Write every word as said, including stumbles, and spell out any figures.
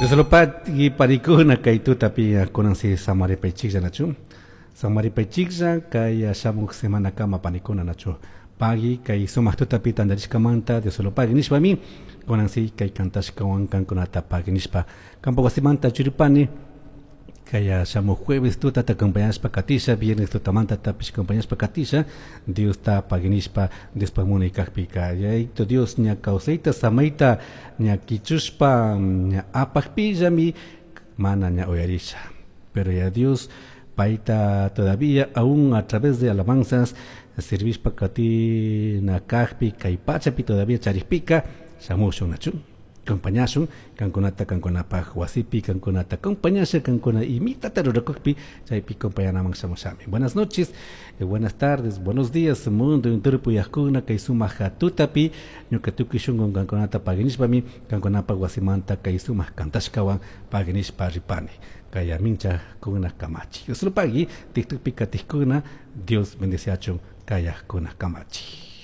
Dios lo pagui panikuna kay tutapi kunan si samaripaychiklla nachu samaripaychiklla kay shamuk semana kama panikuna nachu pagui kay sumak tutapi tantarishkamanta Dios lo pagui nishpami kunan si kay kantashkawan kankunata pagui nishpa kampak wasimanta churipani kay shamuk jueves tutata acompañashpa katisha viernes tutamanta tapish acompañashpa katisha Diosta pagui nishpa Diospak munay kakpika Yayito Dios ña kawsayta samayta ña kichushpa ña apakpillami mana ña uyarisha pero ya Dios paita todavía aún a través de alabanzas servishpa katina kakpi kay pachapi todavía charikpika shamushun nachu acompañashun kankunata kankunapaj wasipi kankunata acompañasha kankuna imitata rurakukpi chaypi acompañanaman shamushami buenas noches eh, buenas tardes buenos días mundo entero puyajkuna kay sumak tutapi ñuka tukuy shunqun kankunata paginishpami kankunapaj wasimanta kay sumak kantashkawan paginishpa ripani kay amincha kuna kamachi Dios lo pagui TikTokpi katijkuna Dios bendeciachun kayajkuna kamachi.